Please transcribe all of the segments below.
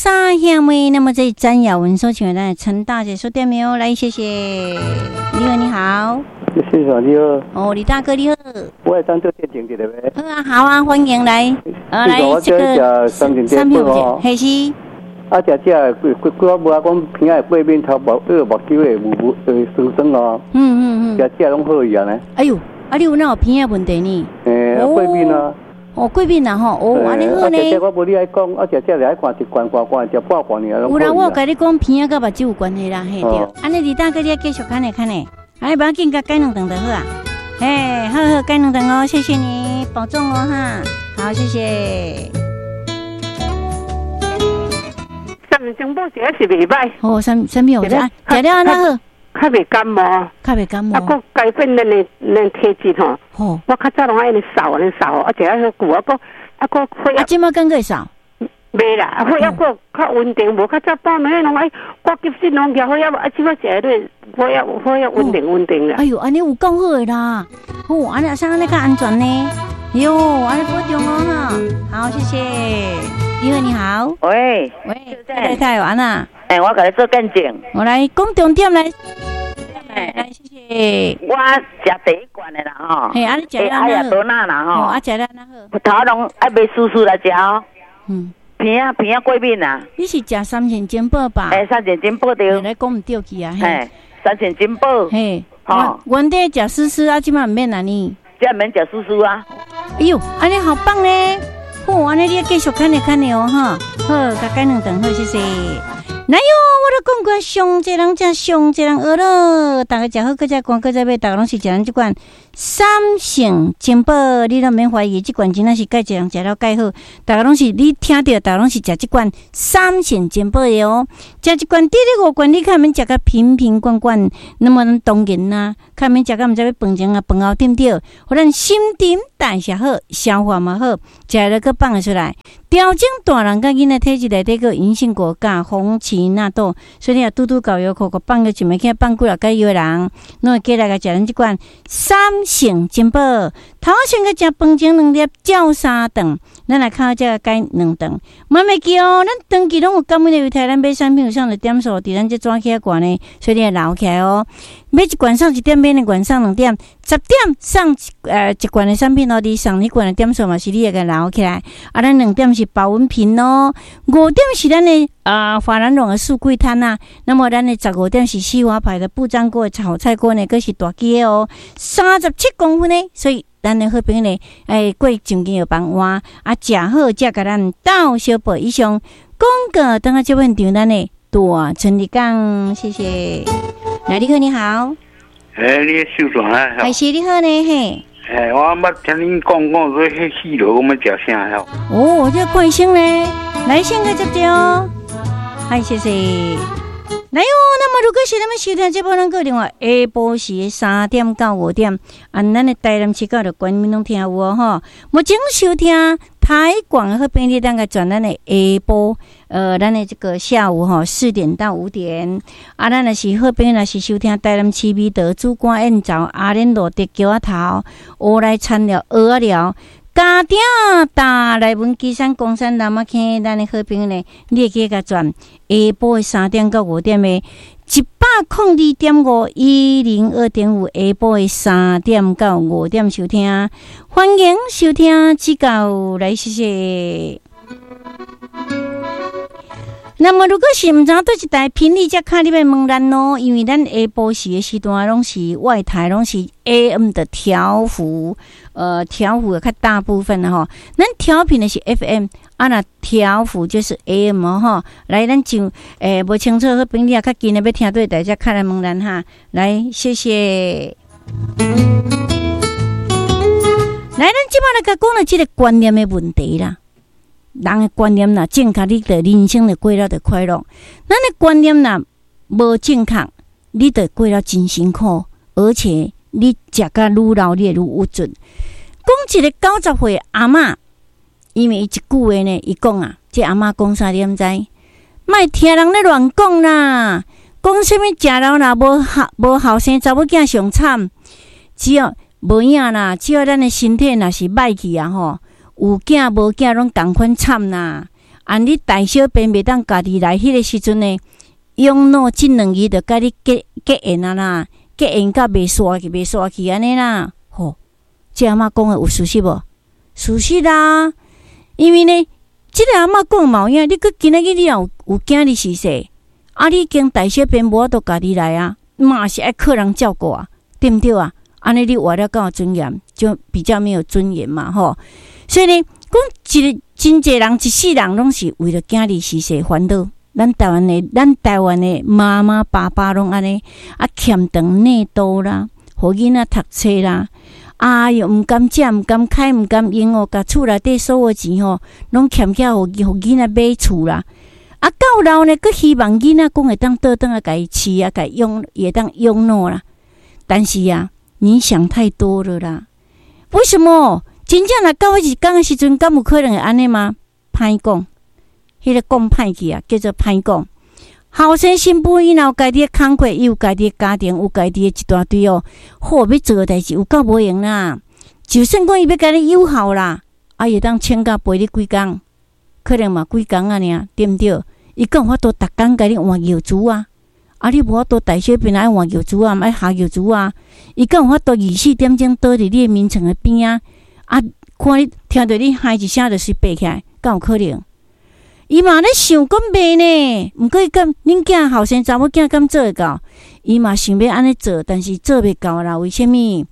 三兄妹。那麼這詹雅雯所唱的陳大姐說點沒來，謝謝。你好，你好。先生你好。哦，李大哥你好。我會當做見證一下袂？好啊，好啊，歡迎來。啊，來這個三片哦，係是。啊，食食幾幾幾我無啊，講鼻仔會過敏，頭目呃目睭會霧霧會酸酸哦。食食攏好去啊呢。哎喲，啊你有哪有鼻仔問題呢？欸，過敏啊。哦，過敏啊吼，哦，按呢好呢。啊，食食我無你愛講，啊，食食就愛看一罐半罐，食半罐爾。有啦，我有共你講，鼻仔佮目睭有關係啦，嘿對。按呢李大哥，你繼續看咧看咧，哎，無要緊，共改兩頓就好啊。嘿，好好改兩頓哦，謝謝你，保重哦哈。好，謝謝。三星寶食是袂歹。哦，啥啥物好食？食了按怎好？較袂感冒。較袂感冒。啊，閣改變咱的咱體質吼。我較早攏愛按呢瘦按呢瘦，啊，食了久啊，閣啊閣血壓。啊，這擺敢閣會瘦？袂啦，啊，血壓閣較穩定，無較早半暝攏愛掛急診攏舉血壓，啊，這擺食落血壓血壓穩定穩定啦。哎喲，按呢有夠好的啦！哦，按呢啥按呢較安全呢？喲，按呢保重哦哈。好，謝謝。你好，你好。喂喂，太太有按怎？欸，我共你做見證。我來講重點來。來，謝謝。我食第一罐的啦吼。嘿，啊你食了哎呀，多哪啦吼。啊，食了哪好？頭攏愛袂舒適來食哦。鼻仔鼻仔過敏啊。你是食三星珍寶吧？欸，三星珍寶對。來講毋對去啊。嘿，三星珍寶。嘿，吼，原底食絲絲啊，這擺毋免按呢。這免食絲絲啊。哎喲，按呢好棒咧！好，按呢你繼續看咧看咧哦，哈。好，共改兩頓好，謝謝。來喲，我都講過，上濟人食，上濟人學咯。逐家食好，閣再灌，閣再買，逐家攏是食咱這罐三星珍寶，你攏免懷疑，這罐真正是蓋濟人食了蓋好。逐家攏是你聽著，逐家攏是食這罐三星珍寶的哦。食一罐，第二五罐，你較免食甲瓶瓶罐罐，那麼當然啦，較免食甲毋知欲飯前啊飯後對毋對？予咱新陳代謝好，消化嘛好，食了閣放會出來。調整大人佮囡仔體質內底閣銀杏果鉀紅芪納豆，所以你若拄拄到藥庫，閣放個一暝，放幾若蓋藥的人，攏會過來共食咱這罐三星珍寶。頭先閣食飯前兩粒，照三頓，咱來較這個改兩頓。嘛袂記哦，咱長期攏有感恩的猶太，咱買產品有送的點數，佇咱這紙起掛呢，所以你會留起來哦。買一罐送一點，買兩罐送兩點，10點送一罐的產品哦，你送彼罐的點數嘛是你會共留起來。啊，咱兩點是保溫瓶哦，5點是咱的啊法蘭絨的四季毯啊。那麼咱的15點是西華牌的不粘鍋的炒菜鍋呢，閣是大支的哦，37公分呢，所以咱的好朋友呢，欸，過上緊藥房換啊，食好才共咱鬥相報。以上廣告，等下這份場咱的大春日講，謝謝。來，你好，你好。欸，你秀轉啊？還是你好呢？嘿。欸，我捌聽恁講講說，彼死螺我欲食啥吼？哦，這個看醫生呢，來先個接著哦。嗨，謝謝。來喲，那麼如果是咱們收聽這部，咱閣另外下晡時3點到5點，啊，咱的台南市到著全民攏聽有哦吼。目前收聽台廣的好朋友，咱個轉咱的下晡，咱的這個下午吼4點到5點，啊，咱若是好朋友，若是收聽台南市美德主官燕巢阿蓮路竹橋仔頭，烏來田寮蚵仔寮。家鼎大內文基山岡山南仔坑，咱的好朋友呢，你會記共轉下晡的3點到5點的102.5 102.5，下晡的3點到5點收聽，歡迎收聽指教來，謝謝。那麼如果是毋知佗一台頻率，才敲你欲問咱咯，因為咱下晡時的時段攏是外台攏是 AM 的調幅，調幅較大部分的吼。咱調頻的是 FM，啊若調幅就是 AM 哦吼。來，咱就無清楚好朋友較近的欲聽佗台，才敲來問咱哈。來，謝謝。來，咱這擺來共講著這個觀念的問題啦。人的觀念若正確，你就人生就過了就快樂。咱的觀念若無正確，你就過了真辛苦，而且你食甲愈老，你會愈鬱卒。講一個90歲阿嬤，因為伊一句話呢，伊講啊，這阿嬤講啥你毋知？莫聽人咧亂講啦，講啥物食老若無後生查某囝上慘，只要無影啦，只要咱的身體若是歹去啊吼。有囝無囝攏仝款慘啦！按你大小便袂當家己來，彼个時陣呢，養老這兩字就佮你結結緣啊啦，結緣甲袂煞去，袂煞去按呢啦。吼，這阿嬤講的有事實無？事實啊，因為呢，這个阿嬤講嘛有影，你閣今仔日你若有有囝兒逝世，啊，你已經大小便無法度家己來啊，嘛是愛靠人照顧啊，對毋對啊？按呢你活了敢有尊嚴，就比較沒有尊嚴嘛，吼。所以呢，講一個真濟人一世人攏是為著囝兒逝世煩惱。咱台灣的媽媽爸爸攏按呢，啊欠長內肚啦，予囡仔讀冊啦，哎喲，毋甘食，毋甘開，毋甘用哦，共厝內底所有錢吼，攏欠起來，予囡仔買厝啦。啊，到老呢，閣希望囡仔講會當倒轉來共伊飼啊，共伊養，會當養老啦。但是啊，你想太多了啦。為什麼？真正若到彼一工的時陣，敢有可能會按呢嗎？歹講，彼个講歹去啊，叫做歹講。後生新婦伊若有家己的工課，伊有家己的家庭，有家己的一大堆哦，好欲做的代誌有夠無閒啦。就算講伊欲共你友好啦，啊，伊會當請假陪你幾工，可能嘛幾工仔爾，對毋對？伊敢有法度逐工共你換尿苴啊？啊，你無法度大小便愛換尿苴啊，愛下尿苴啊？伊敢有法度24點鐘倒佇你的眠床的邊仔？啊，看你聽著你噓一聲就隨爬起來，敢有可能？伊嘛咧想講袂呢，毋過伊敢恁囝後生查某囝敢做會到？伊嘛想欲按呢做，但是做袂到啦。為啥物？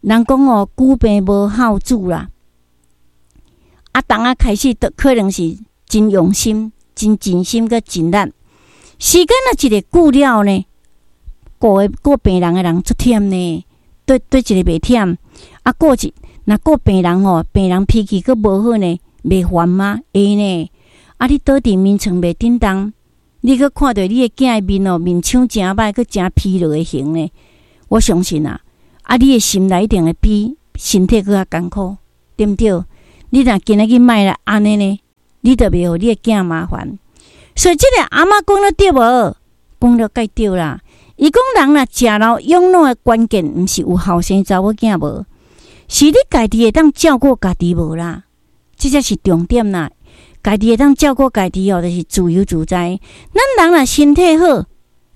人講哦，久病無孝子啦。啊，當仔開始都可能是真用心、真盡心閣盡力。時間若一个久了呢，顧的顧病人的人足忝呢，對對一个袂忝。啊，顧一若顧病人吼，病人脾氣閣無好呢，袂煩嗎？會呢。啊，你倒佇眠床袂振動，你閣看著你的囝的面哦，面相誠歹，閣誠疲勞的形呢。我相信啊，啊，你的心內一定會比身體閣較艱苦，對毋對？你若今仔日莫來按呢呢，你就袂予你的囝麻煩。所以這个阿嬤講得對無？講了蓋對啦。伊講人若食老養老的關鍵，毋是有後生查某囝無，是你家己會當照顧家己無啦。這才是重點啦。家己會當照顧家己哦，就是自由自在。咱人若身體好，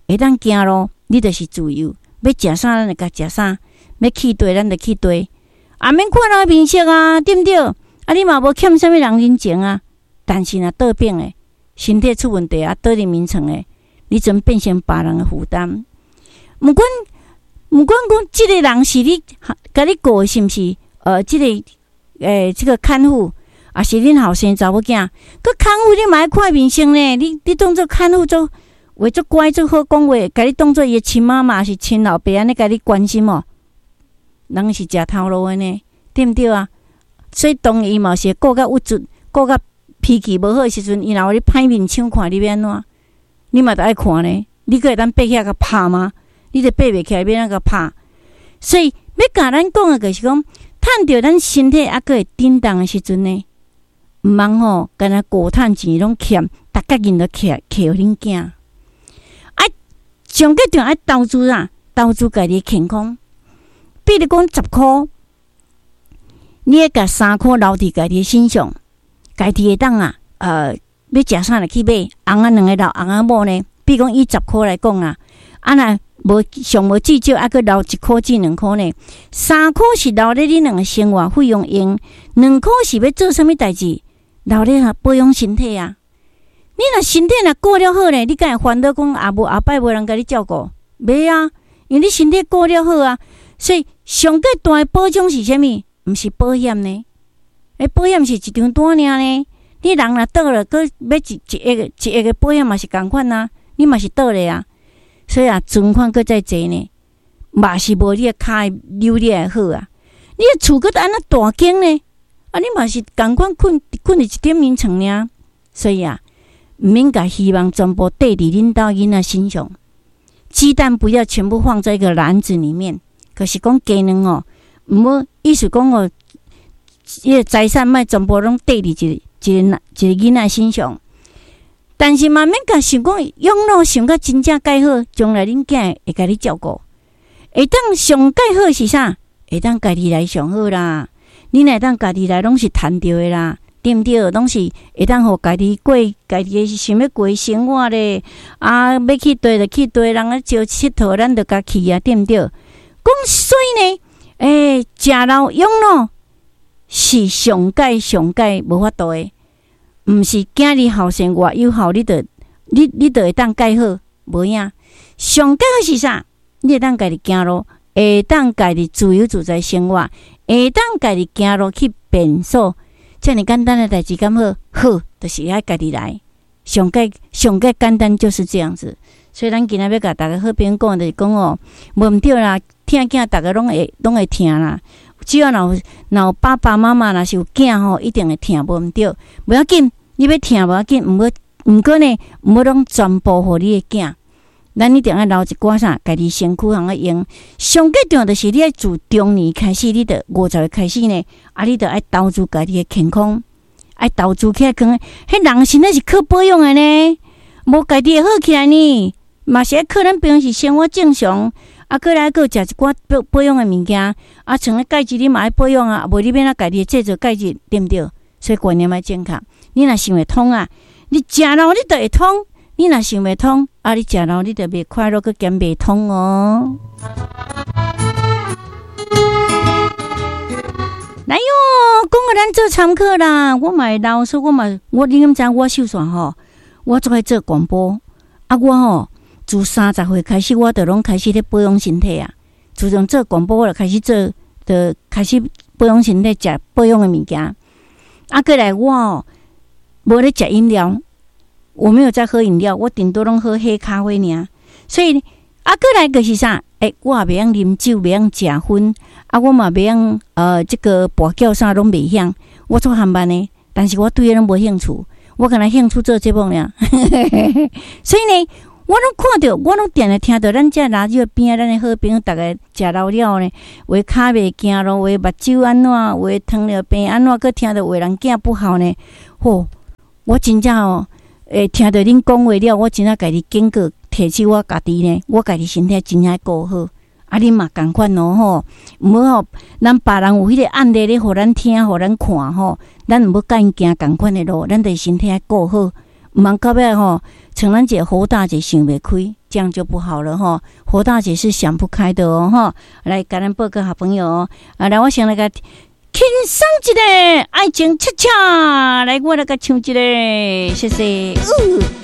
會當行路，你就是自由。欲食啥，咱就共食啥；欲去佗，咱就去佗。也免看人面色啊，對毋對？啊，你嘛無欠啥物人人情啊。但是若倒病的，身體出問題啊，倒佇眠床的，你陣變成別人的負擔。毋管毋管講，這个人是你共你顧的，是毋是？這个這个看護，抑是恁後生查某囝？閣看護你嘛愛看面色呢？你當做看護做話足乖足好講話，共你當做伊的親媽媽，抑是親老爸按呢共你關心哦？人是食頭路的呢，對毋對啊？所以當伊嘛是顧甲鬱卒，顧甲脾氣無好的時陣，伊若予你歹面相看，你欲按怎？你嘛著愛看呢？你閣會當爬起來共拍嗎？你著爬袂起來，欲按怎共拍？所以欲共咱講的，就是講，趁著咱身體猶閣會振動的時陣呢，毋通吼，干焦顧趁錢攏欠，逐角銀都欠予恁囝。愛上較重要愛投資啊，投資家己的健康。比如講10箍，你愛共3箍留佇家己的身上，家己會當啊，欲食啥就去買，翁仔兩个老翁仔某呢？比如講以十箍來講啊，啊若無上無至少猶閣留1箍至2箍呢。3箍是留咧恁兩个生活費用用，兩箍是欲做啥物代誌？留咧保養身體啊。你若身體若顧了好呢，你敢會煩惱講啊無後擺無人共你照顧？袂啊，因為你身體顧了好啊。所以上蓋大的保障是啥物？毋是保險呢？欸，保險是一張單爾呢。你人若倒了，閣買一一億一億的保險嘛是仝款啊，你嘛是倒咧啊。所以啊，存款閣再濟呢，嘛是無你的跤扭你來好啊。你的厝閣按怎大間呢？啊，你嘛是仝款睏睏佇一頂眠床爾。所以啊，毋免共希望全部綴佇恁兜囡仔身上，雞蛋不要全部放在一個籃子裡面。可是講雞卵哦，毋好意思講哦，伊个財產莫全部攏綴佇一個一个一个囡仔身上。但是嘛，免共想講養老想甲真正蓋好，將來恁囝會共你照顧。會當上蓋好是啥？會當家己來上好啦。你若會當家己來，攏是趁著的啦，對毋對？攏是會當予家己過家己的想欲過生活咧。啊，欲去佗就去佗，人咧招𨑨迌，咱就共去啊，對毋對？講所以呢，食老養老是上蓋上蓋無法度的，毋是囝兒孝順偌有孝，你就會當蓋好，無影。上蓋好是啥？你會當家己行路，會當家己自由自在生活，會當家己行路去便所，遮爾簡單的代誌敢好？好，就是愛家己來。上蓋上蓋簡單就是這樣子。所以咱今仔欲共逐家好朋友講，就是講哦，無毋對啦，疼囝逐家攏會疼啦。只要若有爸爸媽媽，若是有囝吼，一定會疼，無毋對。無要緊，你欲疼無要緊，毋過呢，毋好攏全部予你的囝。咱一定愛留一寡啥，家己身軀通去用。上蓋重要就是你愛自中年開始，你著50歲開始呢，啊，你著愛投資家己的健康，愛投資起來，講，彼人身體是靠保養的呢，無家己會好起來呢，嘛是愛靠咱平時生活正常，啊，閣來閣食一寡保養的物件，啊，像咧鈣質你嘛愛保養啊，無你欲按怎家己製造鈣質，對毋對？所以觀念愛正確。你若想會通啊，你食老你就會通；你若想袂通，啊，你食老你就袂快樂，閣兼袂通哦。來喲，講予咱做參考啦。我嘛會老，所以我嘛，我你敢知影我秀紲吼，我足愛做廣播啊！我吼自30歲開始，我就攏開始咧保養身體啊。自從做廣播，我就開始做，就開始保養身體，食保養的物件。啊，過來我哦，無咧食飲料，我沒有在喝飲料，我頂多攏喝黑咖啡爾。所以啊，過來就是啥？我也袂曉啉酒，袂曉食薰，啊，我嘛袂曉這個跋筊啥攏袂曉，我做航班的，但是我對彼攏無興趣，我干焦興趣做節目爾。所以呢，我攏看著，我攏定定聽著咱這垃圾邊仔，咱的好朋友逐家食老了呢，有的跤袂行路，有的目睭按怎，有的糖尿病按怎，閣聽著有的人囝不好呢。吼，我真正哦，聽著恁講話了，我真正家己警告。提醒我家己呢，我家己身體真正顧好，啊，恁嘛仝款哦吼，毋好吼，咱別人有彼個案例咧，予咱聽，予咱看吼，咱毋好共𪜶行仝款的路，咱著身體愛顧好，毋通到尾吼，像咱一個侯大姐想袂開，這樣就不好了吼。侯大姐是想不開的哦吼，來，共咱報告好朋友哦，啊，來，我先來共輕鬆一下，愛情恰恰，來，我來共唱一下，謝謝。